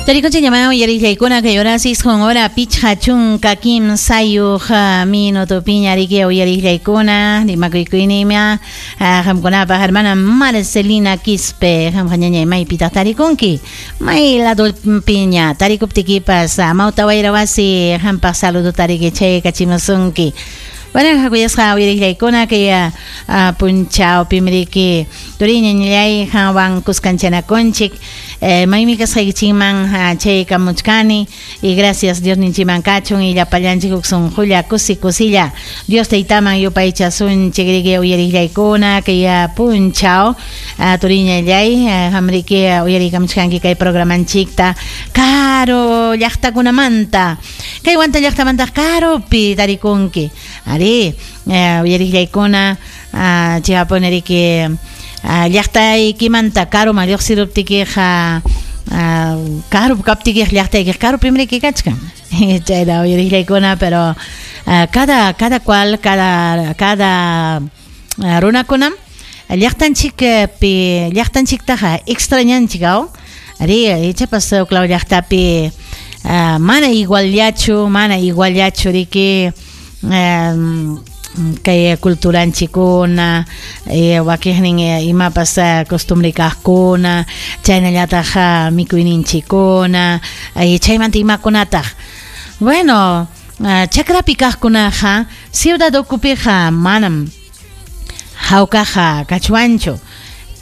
Tarikunchik uyariqllaykuna kay horas isqun hora pichqa chunka kimsayuq minutupiña riki uyariqllaykuna rimakuykuynima qamkunapaq hermana Marcelina Quispe. Qamqa, ñañay, maypitaq tarikunki? May ladopiña tarikuptikipas, Amawta Wayra Wasi qampaq saludota riki chaykachimusunki. Bueno, kuyasqa uyariqllaykuna, kay punchawpim riki turiñañallay qanwan kuskanchanakunchik. Maymi kasqaykichikman chaykamuchkani y gracias Dios ninchiman kachun y llapallanchik huk sunqulla kusi kusilla Dios Taytaman yupaychasunchik riki uyariqllaykuna kay punchaw. Turiñallay, qamriki uyariykamuchkanki kay programanchikta karu llaqtakunamanta, kay Huanta llaqtamanta karupi tarikunki. Ari, uyariqllaykuna, chayapuni riki llaqtaykimanta karuman lluqsiruptikiqa, karup kaptikiqa llaqtaykiqa karupim riki kachkan. Chayna, uyariqllaykuna, pero cada cual, cada runakunam llaqtanchikpi llaqtanchiktaqa extrañanchik aw. Ari, ichapas huklaw llaqtapi mana iguallachu, mana iguallachu riki kay culturanchikuna, wakiqnin imapas costumbre kaqkuna, chaynallataq mikuyninchikuna, chaymanta imakunataq. Bueno, chakrapi kaqkunaqa ciudad ukupiqa manam hawkaqa kachwanchu.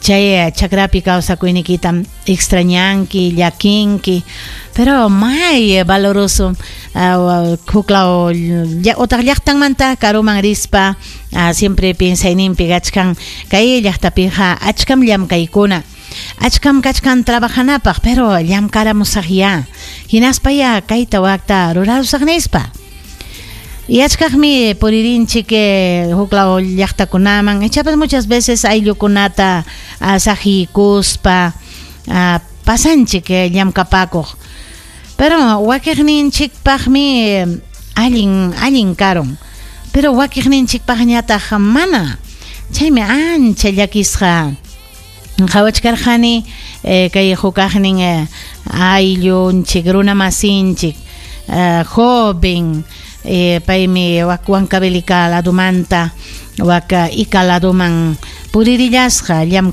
Chay chakrapi kawsakuynikitam extrañanki, llakinki, pero may valoroso huklaw utaq llaqtanmanta karuman rispa siempre piensayninpi kachkan kay llaqtapiqa achkam llamkaykuna, achkam kachkan trabajanapaq, pero llamkaramusaqya, hinaspa ya kayta wakta rurarusaq nispa. Y achkaqmi puririnchik huklaw llaqtakunaman, ichapas muchas veces ayllukunata saqiykuspa pasanchik llamkapakuq. Pero wakiqninchikpaqmi allin allin karun, pero wakiqninchikpaqñataq mana. Chaymi ancha llakisqa qhawachkarqani kay hukaqnin ayllunchik, runamasinchik, joven, paymi wak Huancavelica ladumanta wak Ica laduman puririllasqa llamk'aq.